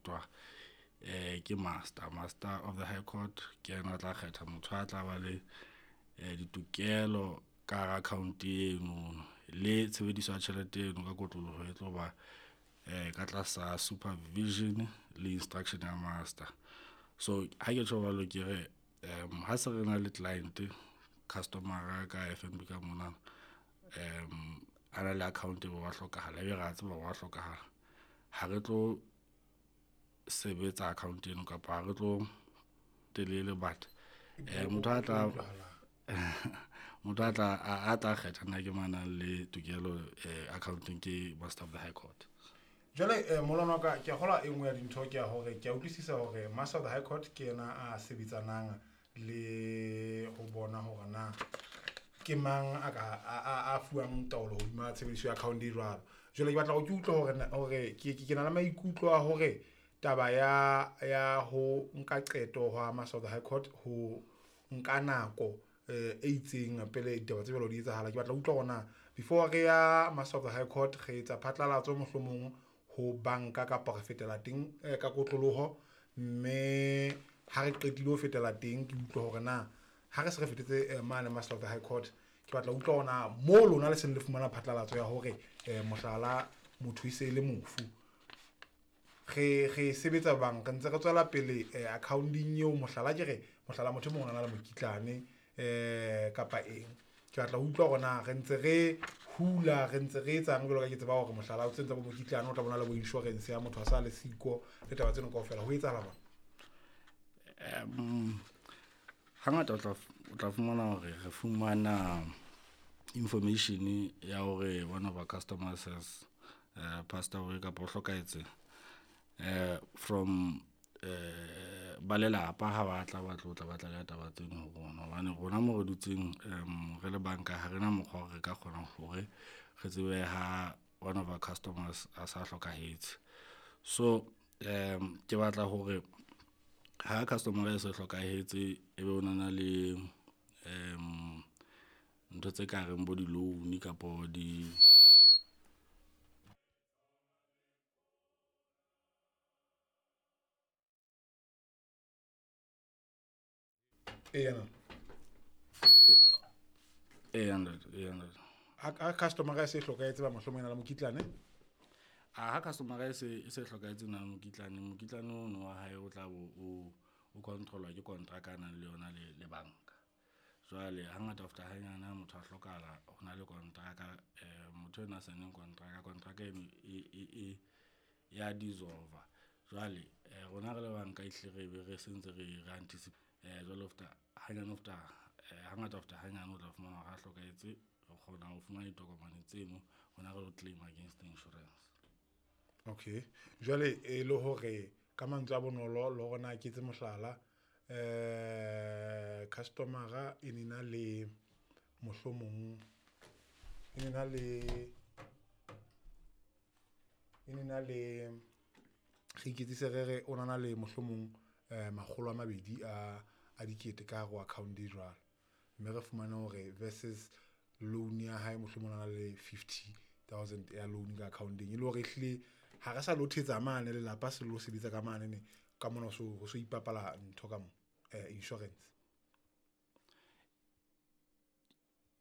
kgethwa ke master, master of the high court ke yena a tla kgetha motho a tla ba le ditokelo ka hara account eno le tshebediso ya tjhelete eno ka kotloloho e tlo ba ka tlasa supervision le instruction ya master. So ha ke tjho jwalo ke re ha se re na le client customer ka FNB ka mona a na le account e be wa hlokahala ebe re a tseba wa hlokahala, ha re tlo sebetsa account eno kapa ha re tlo telele but motho a tla motho a tla a tla kgetha nna ke mang nang le tokelo accounteng ke master of the high court. Jwale molwana wa ka, ke a kgolwa e nngwe ya dintho ke ya hore ke a utlwisisa hore master of the high court ke yena a sebetsanang le ho bona hore na ke mang a ka a fuwang taolo hodima tshebediso ya account e jwalo. Jwale ke batla hore ke utlwe hore hore ke na le maikutlo a hore taba ya ho nka qeto hwa master of the high court ho nka nako e itseng pele ditaba tse jwalo di etsahala. Ke batla ho utlwa hore na before re ya master of the high court re etsa phatlalatso mohlomong ho banka kapa re fetela teng ka kotloloho, mme ha re qetile ho fetela teng ke utlwe hore na ha re se re fetetse mane master of the high court, ke batla ho utlwa hore na mo lona le seng le fumana phatlalatso ya hore mohlala motho e se le mofu, re sebetsa bang re ntse re tswela pele accounting eo, mohlala ke re mohlala motho e mong o na le mokitlane kapa eng. Ke batla ho utlwa hore na re ntse re hula, re ntse re etsang jwalo ka ke tseba hore mohlala o tsentse bo mokitlane o tla bona le bo insurance ya motho a sa le siko le taba tseno kaofela, ho etsahala jwang? Hangata o tla fumana hore re fumana information ya hore one of our customers has passed away kapa o hlokahetse from ba lelapa ha ba tla ba tlo tla ba tla taba tseno ho rona, hobane rona mo re dutseng re le banka ha rena mokgwa hore re ka kgona hore re tsebe ha one of our customers a sa hlokahetse. So ke batla hore ha customer e se hlokahetse ebe o na le ntho tse ka reng bo di-loan kapo di Eya. Eya ntate, eya ntate. Ha customer e se hlokahetse ba mohlomong e na le mokitlane? Ha customer e se hlokahetse na mokitlane, mokitlane ono wa hae o tla bo o controlwa ke contract a nang le yona le banka. Jwale hangata after hanyane ha motho a hlokahala ho na le contract, motho ena a saenneng contract, contract eno e ya dissolve. Jwale rona re le banka ehlile re be re sentse re anticipate jwale after hanyane after hangata after hanyane o tla fumana hore ha hlokahetse re kgona ho fumana ditokomane tseno rona re lo claim against the insurance. Okay, jwale e le hore ka mantswe a bonolo le hore na ke etse mohlala, customer-a e ne na le mohlomong e ne na le re iketsise re re o na le mohlomong 200 a dikete ka hare ho account e jwalo, mme re fumane hore versus loan ya hae mohlomong o na le 50,000 ya loan ka account-eng, e le hore ehlile ha re sa lo thetsa mane lelapa se lo sebetsa ka mane ne ka mona ho so ipapala ntho ka mo insurance.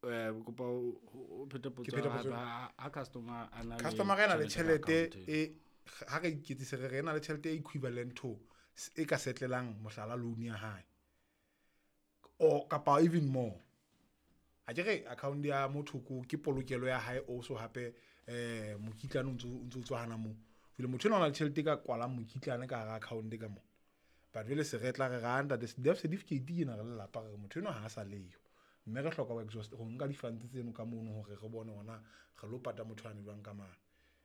Kopa o phete potso Ke phete potso. ha customer a na le Customer a na le tjhelete ka tjhelete e ha re iketsise re re na le tjhelete e equivalent to e ka settlelang mohlala loan ya hae or kapa even more. A ke re account ya motho ke polokelo ya hae also hape mokitlane o ntso tswa hana moo. Jwale motho enwa o na le tjhelete e ka kwalang mokitlane ka hara account ka moo. But jwale se re tla re ra ntate death certificate ke ena re lelapa re motho enwa ha a sa leyo. Mme re hloka ho exhaust ho nka di-funds tseno ka mono hore re bone hore na re lo pata motho ane jwang ka mane.